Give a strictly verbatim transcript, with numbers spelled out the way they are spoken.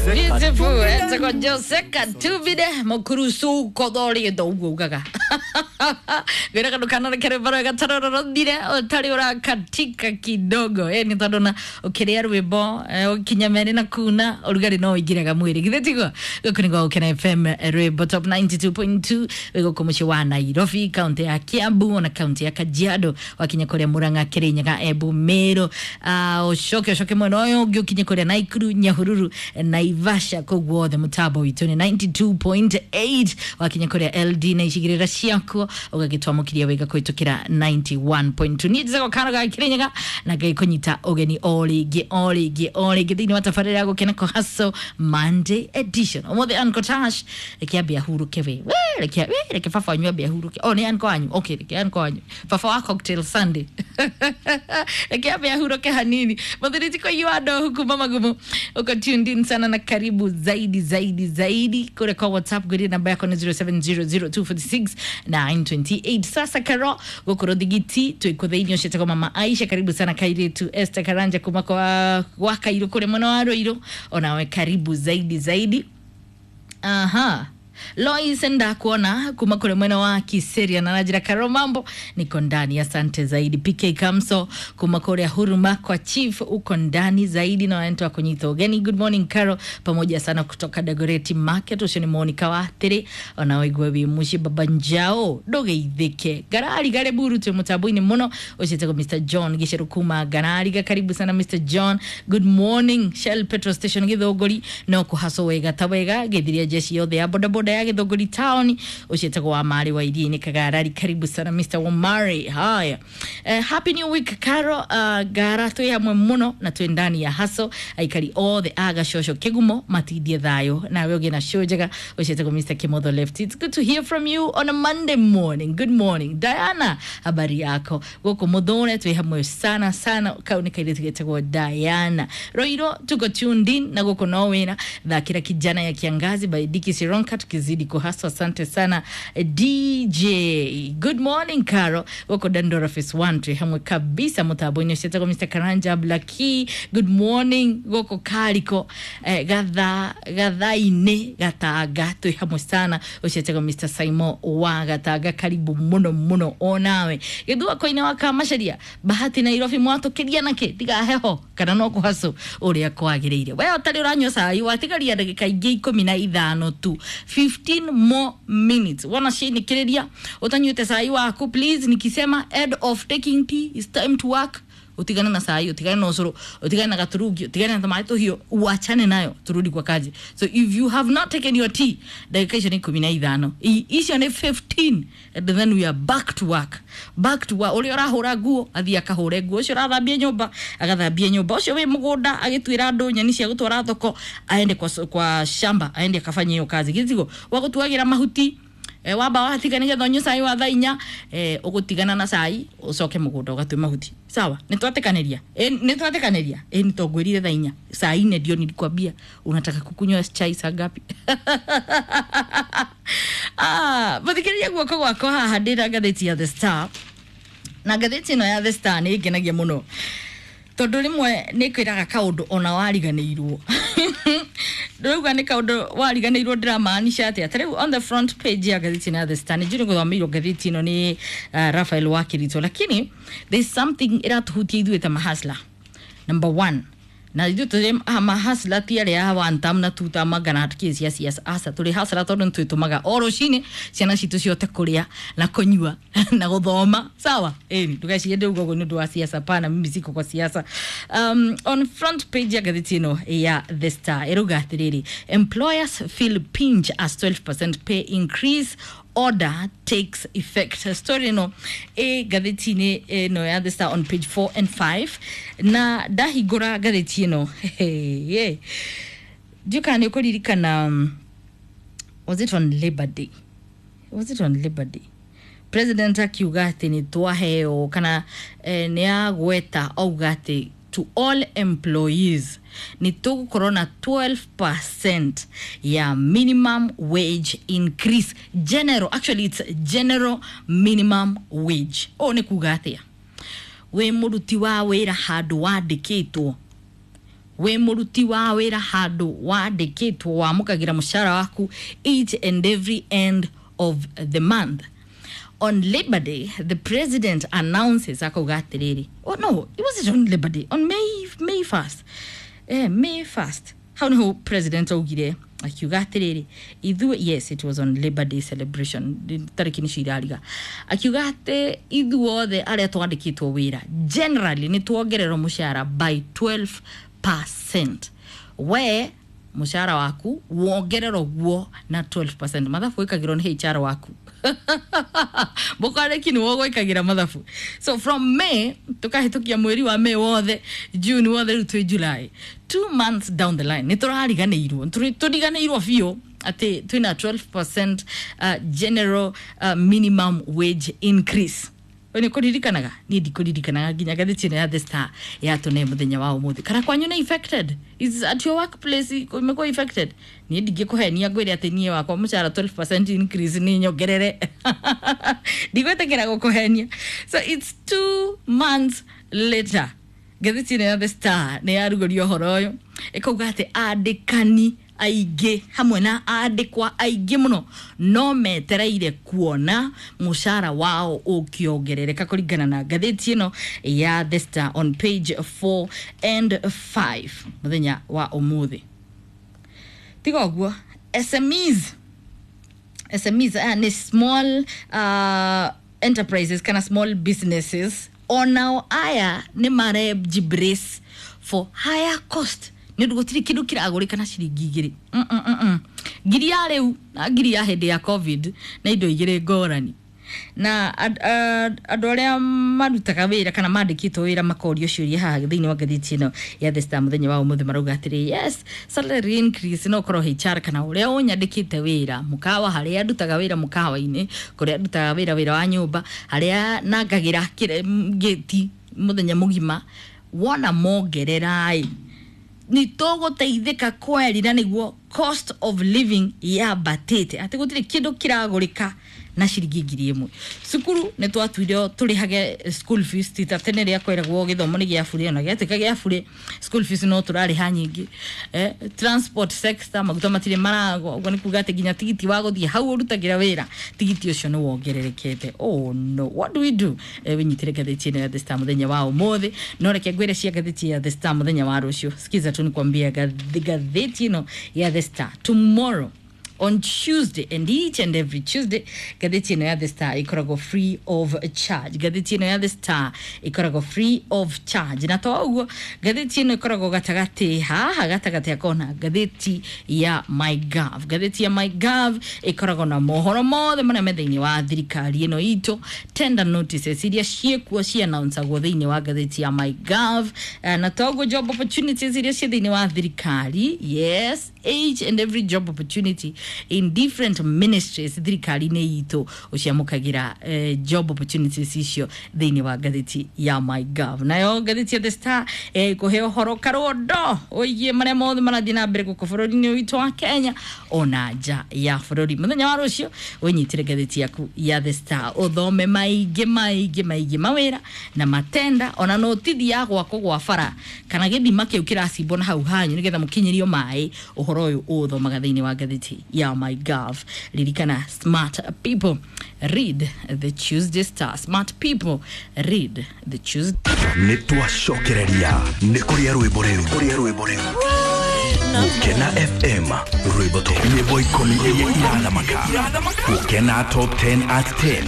Beautiful. Etagwo Jose Katubide mukurucu kothorĩtwo ũguo ugaga ngwĩraga ndũkanarekere mbaro gatarororothire ũtarĩ ũrakatika kidogo ĩ nĩ tondũ na ũkĩrĩa rwĩmbo eh, ũkinya merĩ na kuna ũrugarĩ no ũingĩraga mwĩrĩ githĩ tiguo? Gũkũ nĩ gwa Gũkena F M, rwĩmbo top ninety-two point two, wĩ gũkũ mũciĩ wa Nairobi, kaunti ya Kiambu ona kaunti ya Kajiado, wakinya kũrĩa Murang'a, Kirinyaga, Embu, Meru, ah, ũcoke ũcoke mwena ũyũ ũngĩ ũkinye kũrĩa Naikuru, Nyahururu, Naivasha, kũu guothe mũtambo witũ nĩ ninety-two point eight. Wakinya kũrĩa L D na icigĩrĩra ciakuo ũgagĩtwamũkĩria wega kũhĩtũkĩra ninety-one point two. Niĩ njĩtagwo Karo ga Kirinyaga na Ngai kũnyita ũgeni o rĩngĩ o rĩngĩ o rĩngĩ thĩinĩ wa tabarĩra ya Gũkena Kũhaco Monday edition. Ũmũthĩ Uncle Tash, reke ambe ahurũke. we we reke we reke baba wanyu ambe ahurũke. Oh, nĩ uncle wanyu. Okay, reke uncle wanyu, baba wa cocktail Sunday, reke ambe ahurũke hanini. Mũthuri ti kũigua ndohu kuma Magumu, uko tuned in sana na karibu zaidi zaidi zaidi kule kwa WhatsApp. Ngwĩrie namba yako nĩ zero seven zero zero two four six nine two eight. Sasa Karo gũkũ Rũthigiti twĩ kũ thĩinĩ ũcio mama Aisha, karibu sana. Kairitu Esther Karanja kuma kwa gwa Kairũ kũrĩa mwena wa Rũirũ, onawe karibu zaidi zaidi. Aha. Lois ndakuona kuma kule mwena wa Kiseria na najira Karo mambo niko ndani, asante zaidi. P K Kamso kuma kule Huruma kwa Chief, uko ndani zaidi na wantu wa kunyita ugeni. Good morning Karo, pamoja sana kutoka Dagoretti Market. Ucio ni Monica wa Tiri, ona waigwe wi muci baba njao ndugeithike garari gare buru twi mutambo-inĩ muno. Uciĩtagwo Mister John Giceru kuma Garariga, karibu sana Mister John. Good morning Shell petrol station Githũngũri, no kũhacwo wega ta wega gĩthiria jeshi yothe ya bodaboda ya Githũngũri town. Uciĩtagwo wa Mari wa Iria-inĩ Kagarari, karibu sana Mister Wamari. Haya, uh, happy new week Karo. uh, gara twĩ hamwe mũno na twĩ ndani ya haso, aikari othe a Gacoco Kĩgumo matindie thayũ nawe ũgĩe na show njega. Uciĩtagwo Mister Kimotho Left, it's good to hear from you on a Monday morning. Good morning Diana, habari yako? Gũkũ mũthũre twĩ hamwe sana sana. Kau nĩ kairĩtu getagwo Diana Roiro, tuko tuned in na gũkũ no wĩra. Thakĩra Kijana ya Kiangazi by Diki Sironka tukizidi kuhaswa. Asante sana eh, D J. Good morning Caro, gũkũ Dandora Phase one twĩ hamwe kabisa mũtambo-inĩ. Ũciĩtagwo Mister Karanja Blaki, good morning. Gũkũ Kariko eh, gatha gathainĩ Gatanga twĩ hamwe sana. Ũciĩtagwo Mister Simon wa Gatanga, karibu mũno mũno onawe. Gĩthua koine wa Kamacaria Bahati Nairobi, mwatũkĩria nakĩ tiga heho kana no kũhacũ ũrĩa kwagĩrĩire. We ũtarĩ ũranyua cai, watigaria ndagĩka ingĩ ikũmi na ithano tu, fifteen more minutes. Wana cinikĩrĩria ũtanyuĩte cai waku, please, nikisema end of taking tea is time to work, utigane na cai, utigane na ũcũrũ, utigane na gaturungi, utigane na tũmaĩ tũhiũ, uachane nayo, turudi kwa kazi. So if you have not taken your tea, ndagĩka icio nĩ ikũmi na ithano. I- icio nĩ fifteen and then we are back to work, back to work. Ũrĩa ũrahũra nguo athiĩ akahũre nguo, ũcio ũrathambia nyũmba agathambie nyũmba, ũcio wĩ mũgũnda agĩtuĩra andũ nyeni cia gũtwara thoko aende kwa, kwa shamba, aende akafanye hiyo kazi. Gĩtigo wa gũtuagĩra mahuti, e, wamba watiga nigetha ũnyue cai wa thaa inya, e, ũgũtigana na cai ũcoke mũgũnda ũgatue mahuti. Sawa, nĩtwatĩkanĩria? E, nĩtwatĩkanĩria? E, nĩtongwĩrire thaa inya saa ine ndio nilikwambia. Unataka kukunywa chai saa ngapi? Ah, mũthikĩrĩria, guoko gwakwa haha ndĩna ngathĩti ya The Star, na ngathĩti ĩno ya The Star nĩ ĩngenagia mũno tondũ rĩmwe nĩ kwĩraga kaũndũ ona wariganĩirwo. Ndĩrauga nĩ kaũndũ wariganĩirwo, ndĩramaanisha atĩa? Ta rĩu on the front page ya ngathĩti ĩno ya The Star, nĩ njũĩ gũthomeirwo ngathĩti ĩno nĩ uh, Raphael Wakirito, lakini there's something ĩratũhutia ithuĩ ta mahasla. Number one, na ithuĩ tũrĩ mahasla ti arĩa a one term na two term magana hatikĩ cia siasa. Aca, tũrĩ hasla tondũ nĩ twĩtũmaga o rũcinĩ ciana citũ cihote kũrĩa na kũnyua na gũthoma. Sawa, ĩni ndũgecirie ndĩrauga ũguo nĩ ũndũ wa siasa. Pana, mimi siko kwa siasa. um, on front page ya ngathĩti ĩno ya The Star ĩrauga atĩrĩrĩ, "Employers feel pinch as twelve percent pay increase order takes effect." Story ĩno ĩ ngathĩti-inĩ ĩno ya The Star on page four and five. Na ndahingũra ngathĩti ĩno, hey, ndiũ kana nĩ ũkũririkana, um, was it on Labor Day? Was it on Labor Day president akiuga atĩ nĩ twaheo kana eh, nĩ agweta auga atĩ to all employees nĩ tũgũkorwo na twelve percent ya minimum wage increase? General, actually it's general minimum wage. Ũũ nĩ kuga atĩa? Wĩ mũruti wa wĩra handũ wandĩkĩtwo Wĩ mũruti wa wĩra handũ wandĩkĩtwo wamũkagĩra mũcara waku each and every end of the month. On Labor Day, the president announces akauga atĩrĩrĩ, oh no, it wasn't on Labor Day, on May May first, eh, May first, hau niho president augire akiuga atĩrĩrĩ ithuĩ, yes, it was on Labor Day celebration, tarĩki nĩcio irariga, akiuga atĩ ithuothe arĩa twandĩkĩtwo wĩra generally nĩ tuongererwo mũcara by twelve percent. We mũcara waku wongererwo guo na twelve percent. Mathabu ĩkagĩrwo nĩ H R waku, mũkwarĩki nĩwe ũgwĩkagĩra mathabu. So from May tũkahĩtũkia mweri wa May wothe, June wothe, rĩu twĩ July, two months down the line, nĩ tũrariganĩirwo, tũriganĩirwo biũ atĩ twĩna twelve percent uh, general uh, minimum wage increase. We nĩ kũririkanaga? Niĩ ndikũririkanaga nginya ngathĩti ĩno ya The Star yatũne mũthenya wa ũmũthĩ. Kana kwanyu nĩ affected? Is at your workplace imekuwa affected? Niĩ ndingĩkũhenia ngwĩre atĩ niĩ wakwa mũcara twelve percent increase nĩ nyongerere, ndigwĩtĩkĩra gũkũhenia. So it's two months later, ngathĩti ĩno ya The Star nĩ yarugũria ũhoro ũyũ ĩkauga atĩ andĩkani aingĩ hamwe na andĩkwa aingĩ mũno no metereire kuona mũcara wao ũkĩongerereka kũringana na ngathĩti ĩno ya The Star on page four and five mũthenya wa ũmũthĩ. Tiga ũguo, S M Es, S M Es aya nĩ small uh, enterprises kana small businesses, onao aya nĩ marejibrace for higher cost nĩ ũndũ gũtirĩ kĩndũ kĩragũrĩka na ciringi igĩrĩ. Mm, mm, mm, mm. Ngiri ya rĩu na ngiri ya hĩndĩ ya COVID na indo igĩrĩ ngũrani. Na andũ arĩa marutaga wĩra kana mandĩkĩtwo wĩra makorio ciũria haha thĩinĩ wa ngathĩti ĩno ya The Star mũthenya wa ũmũthĩ, marauga atĩrĩ, yes, salary increase no korwo H R kana ũrĩa ũnyandĩkĩte wĩra mũkawa, harĩa ndutaga wĩra mũkawa-inĩ, kũrĩa ndutaga wĩra wĩra wa nyũmba, harĩa nangagĩra ngĩti mũthenya mũgima, wona mongerera ĩ nĩ tũgũteithĩka kweri na nĩguo cost of living yambatĩte atĩ gũtirĩ kĩndũ kĩragũrĩka na ciringi ngiri ĩmwe. Cukuru nĩ twatuire tũrĩhage school fees ti ta tene rĩa kweragwo gĩthomo nĩ gĩa bure, ona gĩatuĩka gĩa bure school fees no tũrarĩha nyingĩ. eh, transport sector maguta matirĩ maragwa, ũguo nĩ kuga atĩ nginya tigiti wa gũthiĩ hau ũrutagĩra wĩra, tigiti ũcio nĩ wongererekete. Oh no, what do we do? eh, wĩnyitĩre ngathĩti ĩno ya The Star mũthenya wa ũmũthĩ. No reke ngwĩre cia ngathĩti ya The Star mũthenya wa rũciũ. Sikiza tu nikwambia, ngathĩti ĩno ya The Star tomorrow on Tuesday and each and every Tuesday, ngathĩti ĩno ya The Star ĩkoragwo free of charge. Ngathĩti ĩno ya The Star ĩkoragwo free of charge, na to ũguo, ngathĩti ĩno ĩkoragwo gatagatĩ haha gatagatĩ akona ngathĩti ya MyGov. Ngathĩti ya MyGov ĩkoragwo na mohoro mothe marĩa me thĩinĩ wa thirikari ĩno itũ, tender notices iria ciĩkuo ciannouncagwo thĩinĩ wa ngathĩti ya MyGov, eh, na to ũguo, job opportunities iria ciĩ thĩinĩ wa thirikari. Yes, each and every job opportunity in different ministries thirikari-inĩ itũ ũciamũkagĩra eh, job opportunities icio thĩinĩ wa ngathĩti ya MyGov. Nayo ngathĩti ya The Star eh, kũhe ũhoro karondo ũigie marĩa mothe marathiĩ na mbere gũkũ bũrũri-inĩ witũ wa Kenya ona nja ya bũrũri. Mũthenya wa rũciũ wĩnyitĩre ngathĩti yaku ya The Star ũthome maingĩ maingĩ maingĩ mawĩra na matenda ona notithi ya gwakwo gwa bara kana gĩthima kĩu kĩracimbwo na hau hanyu nĩgetha mũkinyĩrio maĩ. Ũhoro ũyũ ũũthomaga thĩinĩ wa ngathĩti ya MyGov. Ririkana, smart people read the Tuesday Star. Smart people read the Tuesday. Nĩ twacokereria nĩ kũrĩa rwĩmbo rĩu, kũrĩa rwĩmbo rĩu Gũkena F M, rwĩmbo to nyĩmbo ikũmi iria irathamaka Gũkena Top ten at ten.